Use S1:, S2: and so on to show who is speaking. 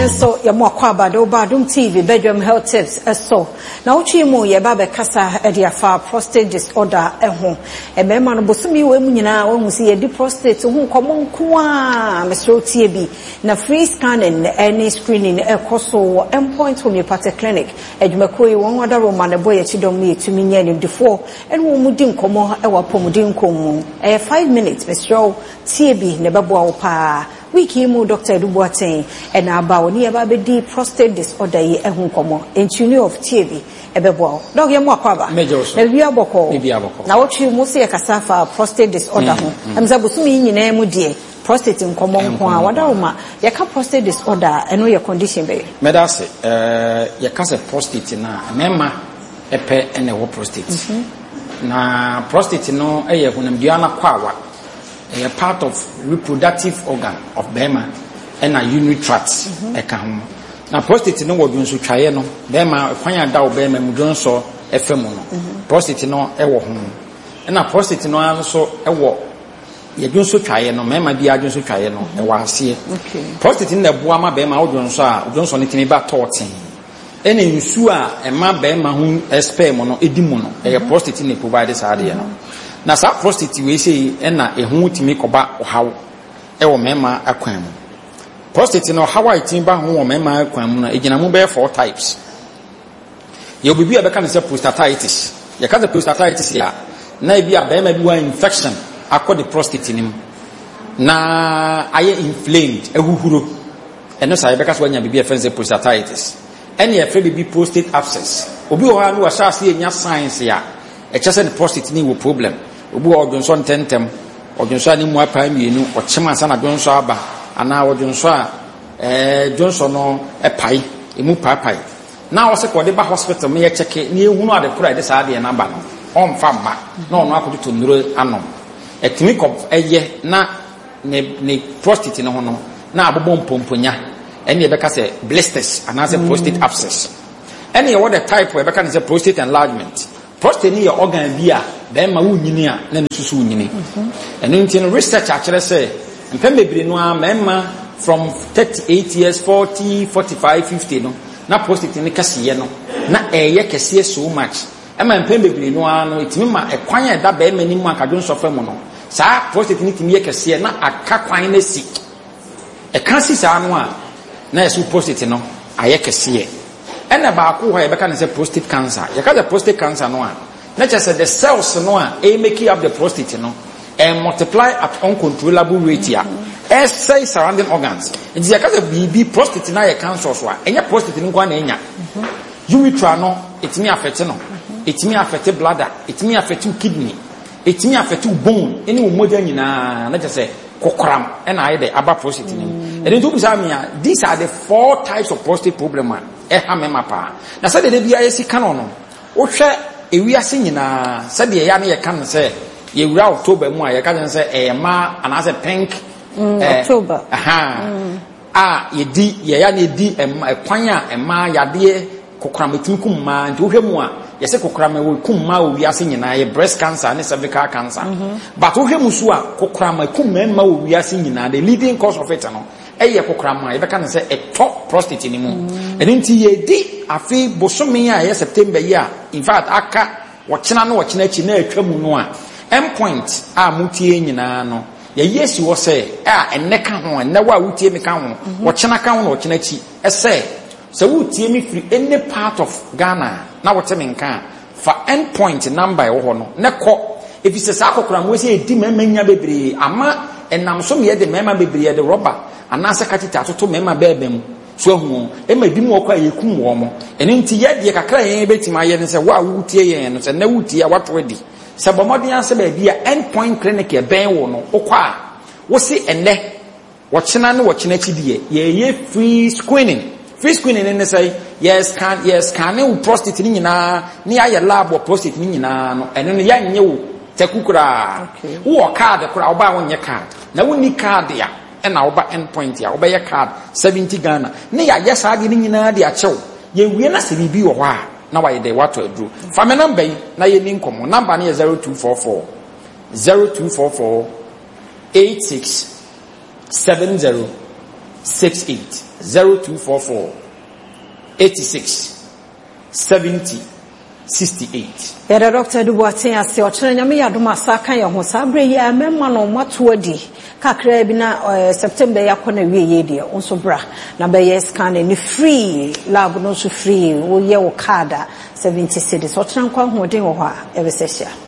S1: Ɛnɛ nso yɛma wo akwaaba de wo ba Adom TV Bedroom Health Tips ɛso. Na wotwi mu yɛba bɛkasa de afa prostate disorder ho. Mmarima no bosome yi mu nyinaa wɔahu sɛ yɛdi prostate ho nkɔmmɔ nko a, mesrɛ wo tie bi. Na free scanning ne screening ɛkɔ so wɔ Mpoint Homeopathic Clinic. Adwumakuo yi wɔn adaroma na ɛbɔ yɛn kyidɔm no yɛtumi nya animdefoɔ ɛne wɔn mu di nkɔmmɔ ɛwɔ apɔmuden nkɔm mu. Ɛyɛ 5 minutes, mesrɛ wo tie bi na ɛbɛboa wo paa. Week yi mu Dr. Edu Boateng ɛna aba wɔ ne yɛba bɛdi prostate disorder yi ho nkɔmmɔ. Ntuni of tie bi ɛbɛboa wo. Doc, yɛma wo akwaaba.
S2: Mɛgye wo so.
S1: Na biribi abɔkɔ.
S2: Biribi abɔkɔ.
S1: Na wotwi mu sɛ yɛkasa fa prostate disorder ho. Ɛm sɛ bosome yi nyinaa mu deɛ prostate nkɔmmɔ nko a wadaroma. Yɛka prostate disorder, ɛno yɛ condition bɛyɛ?
S2: Mɛda ase. Yɛka sɛ prostate na mmarima ɛpɛ ɛna ɛwɔ prostate. Na prostate no ɛyɛ honamdua no akwawa. Ɛyɛ part of reproductive organ of bɛrima ɛna urinary tract ɛka ho. Na prostate no wɔ dwonsotwaeɛ no, bɛrima kwan a da wo bɛrima mu dwonsɔ ɛfɛ mu no, prostate no ɛwɔ ho. Ɛna prostate no ara nso ɛwɔ yɛ dwonsotwaeɛ no, mmarima bi adwonsotwaeɛ no ɛwɔ aseɛ. Prostate no na ɛboa ma bɛrima wo dwonsɔ a, dwonsɔ no tumi ba tɔɔten. Ɛna nsuo a ɛma bɛrima ho sperm no ɛdi mu no, ɛyɛ prostate na provide saa adeɛ no. Na saa prostate wei sei ɛna ɛho tumi kɔba ɔhaw ɛwɔ mmarima akwan mu. Prostate no ɔhaw a ɛtumi ba ho wɔ mmarima akwan mu no, ɛgyina mu bɛyɛ four types. Yɛwɔ biribi a yɛbɛka no sɛ prostatitis. Yɛka sɛ prostatitis a, na ebi a bɛrima bi wɔ infection akɔ ne prostate no mu na ayɛ inflamed, ahuhuro. Ɛno saa yɛbɛka sɛ wanya biribi a yɛfrɛ no sɛ prostatitis. Ɛne yɛfrɛ biribi prostate abscess. Obi wɔ hɔ a na wahyɛ ase anya signs a ɛkyɛ sɛ ne prostate ne wɔ problem. Obi wɔ hɔ ɔdwonsɔ ntɛntɛm, ɔdwonsɔ a ne mu apae mmienu, ɔkyem ansa na dwonsɔ aba, anaa ɔdwonsɔ a dwonsɔ no ɛpae, emu paapae. Na ɔsɛ kɔ ɔde ba hospital ma yɛkyɛke na yɛhunu ade koro a yɛde saa adeɛ no aba no, ɔmfa mma na ɔno akɔtoto nnuro anom. Ɛtumi kɔ ɛyɛ na ne prostate no ho no na abobɔ mpomponya, ɛne yɛbɛka sɛ blisters anaasɛ prostate abscess. Ɛne yɛwɔ the type a yɛbɛka no sɛ prostate enlargement. Prostate no yɛ organ bi a bɛrima wonyini a na ne susu wonyini. Ɛno nti no research akyerɛ sɛ mpɛn bebree no a mmarima from 38 years, 40, 45, 50 no na prostate no kɛseyɛ no na ɛyɛ kɛseɛ so much. Ɛma mpɛn bebree no ara no ɛtumi ma ɛkwan a ɛda bɛrima anim a kadwonsɔ fa mu no, saa prostate no tumi yɛ kɛseɛ na aka kwan no asi. Ɛka si saa no a, na yɛsɛ prostate no ayɛ kɛseɛ. Ɛna baako hɔ a yɛbɛka no sɛ prostate cancer. Yɛka sɛ prostate cancer no a, na kyerɛ sɛ the cells no a ɛyɛ making up the prostate no ɛn multiply at uncontrollable rate a ɛsɛe surrounding organs. Nti yɛka sɛ biribi prostate no ayɛ cancer so a, ɛnyɛ prostate no nko ara na ɛnya. Urethra no ɛtumi affect no, ɛtumi affect bladder, ɛtumi affect kidney, ɛtumi affect bone ɛne wo mogya nyinaa, na kyerɛ sɛ kokoram ɛna ayɛ dɛ aba prostate no mu. Ɛno nti wobisa me a, these are the four types of prostate problem a ɛha mmarima paa. Na sɛdeɛ da biara yɛsi ka no no, wohwɛ ewiase nyinaa sɛdeɛ yɛa ne yɛka no sɛ yɛwura October mu a, yɛka no sɛ ɛyɛ mmaa anaasɛ pink
S1: October.
S2: Aha. A yɛdi yɛya ne yɛdi ɛkwan a mmaa yadeɛ kokoram ɛtumi kum mmaa. Nti wohwɛ mu a yɛsɛ kokoram ɛwɔ kum mmaa wɔ wiase nyinaa, yɛ breast cancer ne cervical cancer. But wohwɛ mu so a kokoram ɛkum mmarima wɔ wiase nyinaa, the leading cause of it no ɛyɛ kokoram a yɛbɛka no sɛ ɛtɔ prostate no mu. Ɛno nti yɛdi afei bosome a ɛyɛ September yi a, in fact aka wɔkyena no wɔkyena akyi na atwa mu no a, Mpoint a motie nyinaa no yɛyɛ si hɔ sɛ a ɛnnɛ ka ho, ɛnnɛ wo a wotie me ka ho, wɔkyena ka ho na wɔkyena akyi, ɛsɛ sɛ wotie me firi any part of Ghana na wote me nka a, fa Endpoint number ɛwɔ hɔ no na kɔ. Ɛfiri sɛ saa kokoram wei sɛ ɛdi mmarima nya bebree ama ɛnam so meyɛ de mmarima bebree yɛde rɔba anaasɛ katita atoto mmarima bɛɛba mu so ahu wɔn, ɛma ebi mu wɔ kɔ a yɛkum wɔn mo. Ɛno nti yɛ deɛ kakra yɛn bɛtumi ayɛ ne sɛ wo a wotie yɛn no, sɛ nnɛ wotie a wato adi sɛ bɔ mmɔden asɛ baabi a Endpoint Clinic ɛbɛn wo no wokɔ a, wo se ɛnnɛ wɔkyena ne wɔkyena akyi deɛ yɛyɛ free screening. Free screening ne sɛ yɛ scan, yɛ scan wo prostate ne nyinaa ne yɛayɛ lab wɔ prostate ne nyinaa no, ɛno no yɛnyɛ wo taku koraa. Wowɔ card koraa woba a wonyɛ card, na wonni card a ɛna woba Endpoint a wobɛyɛ card 70 Ghana ne yɛayɛ saa adeɛ no nyinaa de akyɛw. Yɛwie na sɛ biribi wɔ hɔ a na wayɛ dɛ watɔ aduro. Fa me number yi na yɛni nkɔmmɔ. Number no yɛ 0244 0244 86 70. 68. 0244 86 70 68.
S1: Yɛda Dr. Edu Boateng ase. Ɔkyena Nyame yɛ adom a, saa ka yɛn ho. Saa berɛ yi a mmarima no moato adi kakra bi na September yi akɔ n'awieeɛ deɛ, wo nso bra na bɛyɛ scanning no free, lab no nso free, woyɛ wo card a, 70 cedis. Ɔkyena nkwa ne ahoɔden wɔ hɔ a, yɛbɛsan ahyia.